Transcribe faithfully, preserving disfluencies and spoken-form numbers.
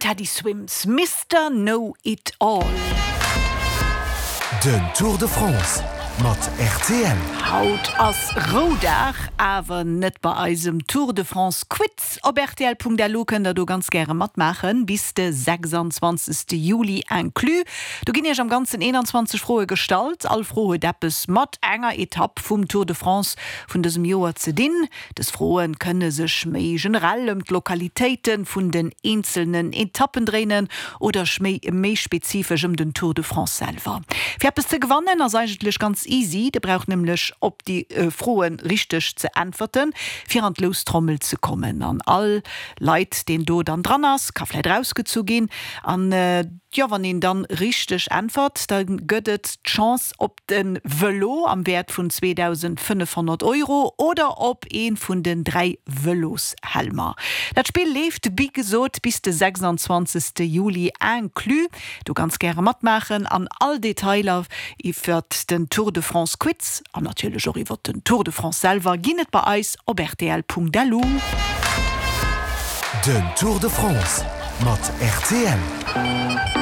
Teddy Swims, Mister Know It All. Den Tour de France mat rtl. Haut ass Roudag, awer net bei eisem Tour de France Quiz. Op rtl.lu kënnt der do ganz gäre matmaachen, bis de sechsanzwanzegste Juli inclus. Do ginn iech am ganzen eenanzwanzeg Froe gestallt. All Fro huet eppes mat enger Etapp vum Tour de France vun dësem Joer ze dinn. Dës Froe kënne sech méi generell ëm d'Lokalitéite vun den eenzelnen Etappen dréinen oder méi méi spezifesch ëm den Tour de France selwer. Fir eppes ze gewannen ass eigentlech ganz easy, dir braucht nämlech op déi Froen richteg ze äntwerten, fir an d'Loustrommel ze kommen. An all Leit deen do dann dran ass, ka vläit rausgezu ginn. An jo, wann een dann richteg äntwert, da gëtt et d'Chance op de Vëlo am Wäert vun zweedausendfënnefhonnert Euro oder op ee vun den dräi Vëloshelmer. Dat Spill leeft, wéi gesot, bis de sechsanzwanzegste Juli inclus. Do ganz gäre matmaachen an all Detailer iwwert den Tour de France Quiz an natierlech och iwwert den Tour de France selwer ginn et bei eis op rtl.lu. Den Tour de France mat rtl.